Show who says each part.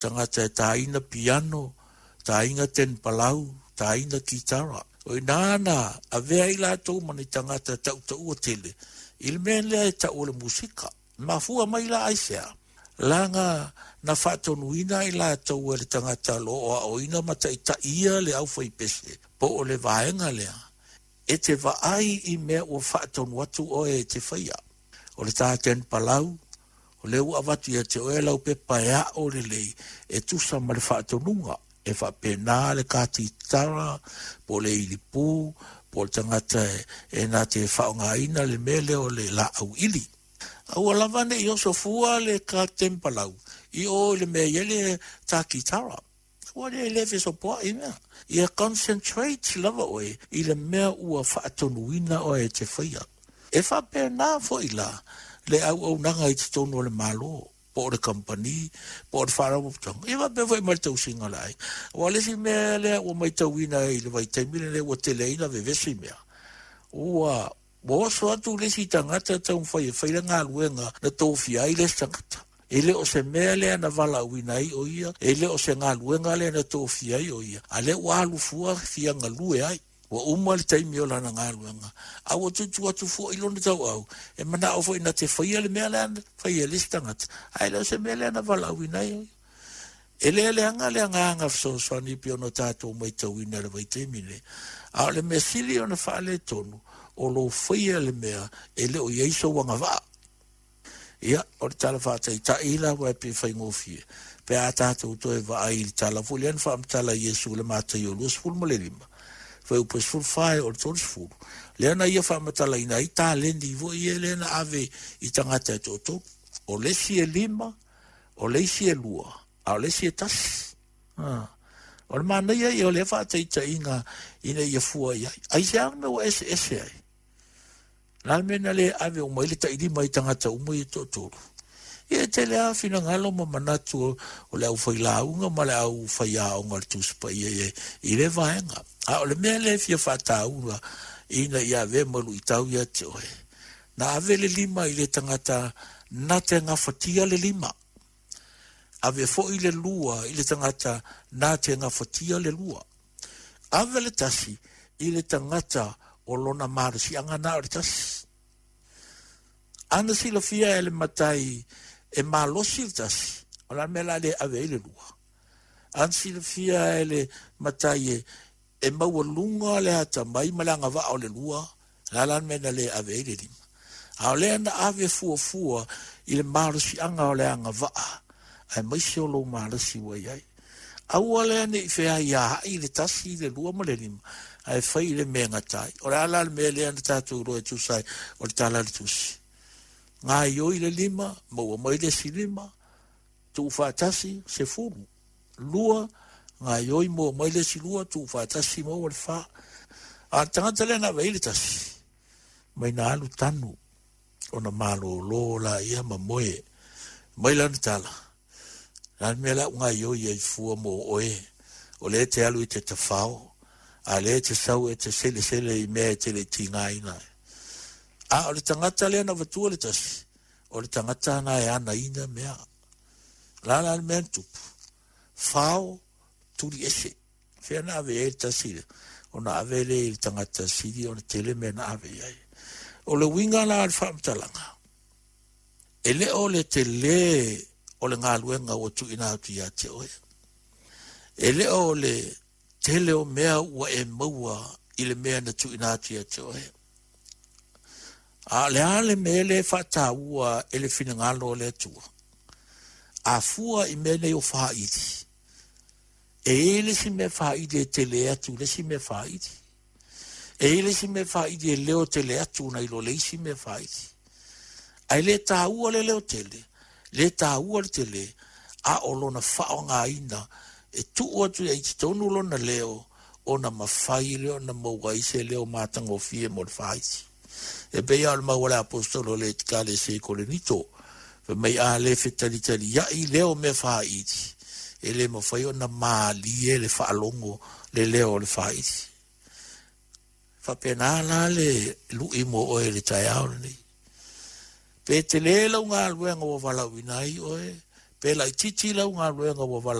Speaker 1: Tagata e tāina piano, tāina tenepalau, tāina kitara. O ina na avea ai latou ma ni tagata tautaua tele i le mea lea e tau o le musika. Mafua mai la aisea? Leaga na faatonuina ai latou e le tagata o lo o aoina ma taitaia le aufaipese po o le vaega lea, e te vaai i mea ua faatonu atu oe e te faia. O le tā tenepalau, O lea ua avatu ia te oe lau pepa e aʻo lelei e tusa ma le faatonuga, e faapena le katitara po o le ilipū po o le tagata e na te faaaogaina le mea lea o le laau ili. Aua lava ne i oso fua le katempalau i o i le mea i ai le takitara. Ua le le fesopoai mea. Ia concentrate lava oe i le mea ua faatonuina oe e te faia. E faapena foi la le auaunaga i totonu o le Malo, po o le kamupani, po o le faalapotopotoga, ia faapea foi ma le tausiga o le aiga. Aua o le isi mea lea ua matauina i le vaitaimi lenei ua tele ai ona vevesi mea, ua oso atu le isi tagata taumafai e fai le galuega na tofia ai le isi tagata. E le o se mea lea na valaauina ai o ia, e le o se galuega lea na tofia ai o ia, a lea ua alu fua fia galue ai. Ua uma le taimi o lana galuega, a ua tutu atu foi lona tauau, e manao foi na te faia le mea lea na faia e le isi tagata, ae le o se mea lea na valaauina ai o ia. E le leaga le agaga fesoasoani pei ona tatou matauina i le vaitaimi lenei, a o le mea sili ona faaletonu, o lou faia le mea e le o i ai sou agavaa. Ia, o le tala faataitai lava e pei faigofie, pe a tatou toe vaai i le tala foi lea na faamatala e Iesu i le Mataio 25, fuaiupu 14 e oo i le 30, lea na ia faamatalaina ai taleni foi ia lea na ave i tagata e toatolu. O le isi e 5, o le isi e 2, a o le isi e 1. O le manaia ia o lea faataitaiga ina ia fua i ai. Aisea le mea ua eseese ai? O le a le mea na le ave uma ai le tailima i tagata uma ia e toatolu? Ia e tele lava finagalo ma manatu o le aufailauga ma le aufaiaoga o le Tusi Paia i, i lea vaega. A o le mea lea e fia faataua ina ia avea ma luitau ia te oe, na ave le 5 i le tagata na te gafatia le 5. Ave foi le 2 i le tagata na te gafatia le 2. Ave le 1 i le tagata o lona malosiaga na o le 1. Ana silafia e le matai e malosi le 1, o le a le mea la le ave ai le 2. Ana silafia e le matai e maualuga le atamai ma le agavaa o le 2, o le a la le mea na le ave ai le 5. A o lea na ave fuafua i le malosiaga o le agavaa, aemaise o lou malosi ua i ai. Aua lea ne i feaiaai le 1, le 2 ma le 5, ae fai i le mea e gata ai. O le a la le mea lea na tatou iloa e tusa ai o le tala a le Tusi. Gaioi le 5, maua mai le isi 5, tuufaatasi, 10. 2, gaioi maua mai le isi 2, tuufaatasi maua le 4. A o le tagata lea na ave ai le 1, mai na alu tanu, ona malōlō la ia ma moe. Mai lana tala, la le mea la u gaioi ai fua mo oe, o lea te alu i te tafao, a lea te sau e te selesele i mea e te le tigaina ai. A o le tagata lea na avatua le 1, o le tagata na e anaina mea. La la le mea na tupu, fao tuli ese. Fea na ave ai le 1 lea, ona ave lea i le tagata sili ona tele mea na ave i ai. O le uiga la o le faamatalaga, e le o le tele o le galuega ua tuuina atu ia te oe. E le o le tele o mea ua e maua i le mea na tuuina atu ia te oe. A o le a le mea lea e faataua e le finagalo o le Atua? A fua i mea nei o faaili, e i ai le isi mea faaili e tele atu i le isi mea faaili. E i ai le isi mea faaili e leo tele atu nai lo le isi mea faaili. Ae le taua le leo tele, le taua le tele, a o lona faaaogaina e tuu atu i ai totonu lona leo, ona mafai lea ona maua ai se leo matagofie mo le faaiti. E pei lava o le mau a le apostolo o le Ekalesia i Korinito, fai mai a le fetalitaliai leo mea faaili, e le mafai ona malie le faalogo le leo o le faaili. Faapena la le lui mo oe i le taeao lenei. Pe tele lau galuega ua valaauina ai oe, Pe laitiiti lau galuega ua.